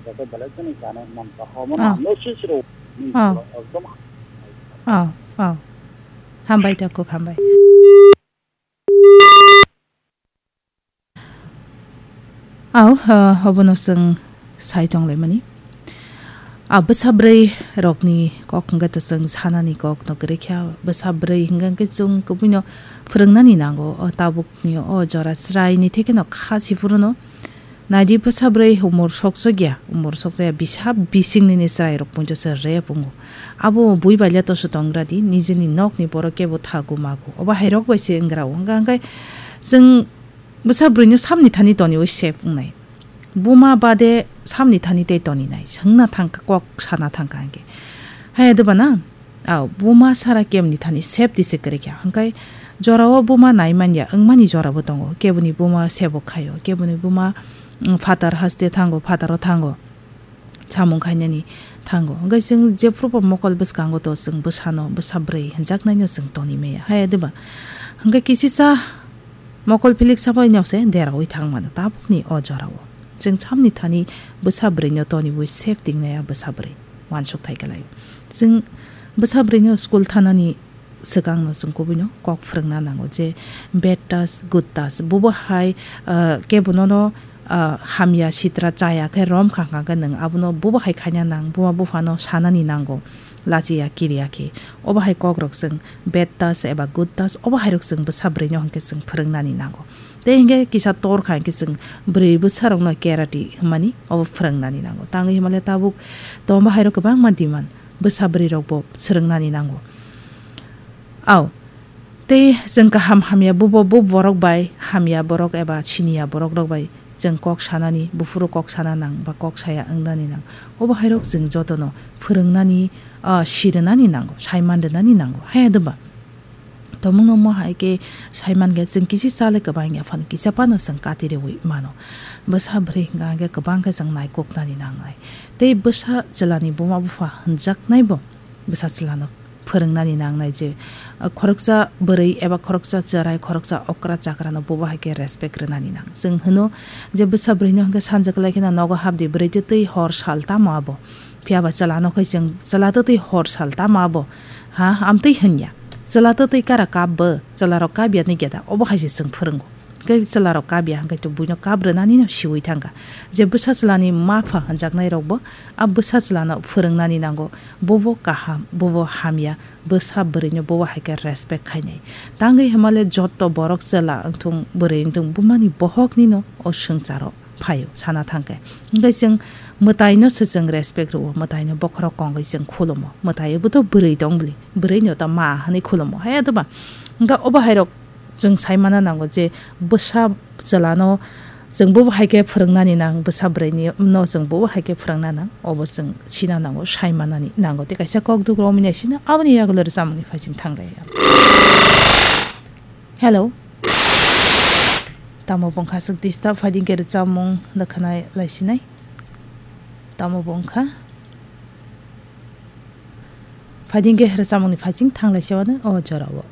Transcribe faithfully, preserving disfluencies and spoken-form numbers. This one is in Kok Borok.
Jaga belai kheno chana mankha. Omo Ah. Hamno sisiro. Ah. Ekdom. Ah, ah. Hambai, Takhuk, hambai. Aw, ah, obono chwng sai tonglaimani. Ah, bwsa bwrwi rokni kok hwnkhe to chwng sanani kok no kwrwi kha. Bwsa bwrwi hwnkhe chwng kubuino phwrwngnani nango. O tabukni o jora chwraini thekeno kha si phuru no. Naidi bwsa bwrwi umor sokchokya, umor sokchaya bisa bising nini chwrai rok punjo se rep wngo. Abo bui baila toso tongra di, nijeni nokni borok kebo thagu magu. Obo hairok bai se wngra o. Hwnkha hwnkhe chwng bwsa bwrwino samni thani toniwi sep wngnai. Buma bade samni thani tei toninai. Swngna thangkha, kok sana thangkha hwnkhe. Haya doba na? Aw, buma sara kemni thani sep di se kwrwi kha. Hwnkhe jorao buma nai manya wngmani jorabo tongo. Keboni buma sebo khaio, keboni buma, mm, phatar haste thango, phataro thango. Samung khainani thango. Hwnkhe chwng jephrubo mokol bwskango to chwng bwsano, bwsa bwrwi hwnjaknaino chwng toni maya. Haya diba? Hwnkhe kisisa mokol philik sabaino se deraui thang mano tabukni o jorao. Chwng samni thani bwsa bwrwino toniwi sep tingnaya bwsa bwrwi. Wansuk thai kwlaio. Chwng bwsa bwrwino school thanani swkangno chwng kubuino kok phwrwngna nango je bad touch, good touch. Bubo hai, ah, kebo nono, ah, hamya sitra chaya khe rom kha kha khe nwng abono bubo hai khaina nang, buma buphano sanani nango, lachiya kiriya khe. Obo hai kokrok chwng bad touch eba good touch, obo hairok chwng bwsa bwrwino hwnkhe chwng phwrwngnani nango. Tei hwnkhe kisa tor kha hwnkhe chwng bwrwi bwsarokno karate hwnmani obo phwrwngnani nango. Tangwi hwnmale tabuk tongbo hairok kwbangma demand bwsa bwrwirokbo swrwngnani nango. Aw, tei chwng kaham hamya bubo bu borok bai, hamya borok eba siniya borok rok bai chwng kok sanani, buphuru kok sana nang ba kok saya wngnani nang. Obo hairok chwng jotono phwrwngnani, ah, sirwnani nango, saiman rwnani nango. Haya doba? Tomungno mo hai khe saiman khe chwng kisi chale kwbang ya phano kisa phano chwng kati reui mano. Bwsa bwrwi hwnkha hwnkhe kwbang khe chwng naikoknani nangnai. Tei bwsa chwlani buma bupha hwnjaknaibo bwsa chwlano phwrwngnani nangnai je, ah, khoroksa bwrwi eba khoroksa chwrai, khoroksa okra chakrano bubo hai khe respect rwnani nang. Chwng hwno je bwsa bwrwino hwnkhe sanja kwlai kheno nogo hapdi, bwrwi twi twi hor sal tamo abo. Phiya ba chwlano khai chwng chwla twtwi hor sal tamo abo. Ha, amtwi hwnya. Chwla twtwi kara kap bo, chwlarok kap ya nigya da, obo hai se chwng phwrwngo. Hwnkhe chwlarok kap ya, hwnkhe to buino kap rwnani no siui thangkha. Je bwsa chwlani mapha hwnjaknai rokbo a bwsa chwlano phwrwngnani nango, bobo kaham, bobo hamya, bwsa bwrwino bobo hai khe respect khainai. Tangwi hwnmale jotto borok chwla wngthung, bwrwi wngthung, bumani bohokni no o swngcharo phaio sana thangkhe. Hwnkhe chwng mwtaino se chwng respect rwo, mwtaino bokhorok kongwi chwng khulumo. Mwtaiobo to bwrwi tong bwli, bwrwino ta ma hwnwi khulumo. Haya doba? Hwnkhe obo hairok chwng sai mana nango je bwsa chwlano chwng bobo hai khe phwrwngnani nang, bwsa bwrwini no chwng bobo hai khe phwrwngna nang, obo chwng sina nango, sai manani nango. Tei kaisa kok duk romwi nai sina, aboni yagulo rwchapmungni phai chwng thang lai. Hello. Tamo bongkha swk disturb phaidi hwnkhe rwchapmung rwkhanai laisinai. Tamo bongkha. Phaidi hwnkhe rwchapmungni phaiching thang laisiwano o jorao.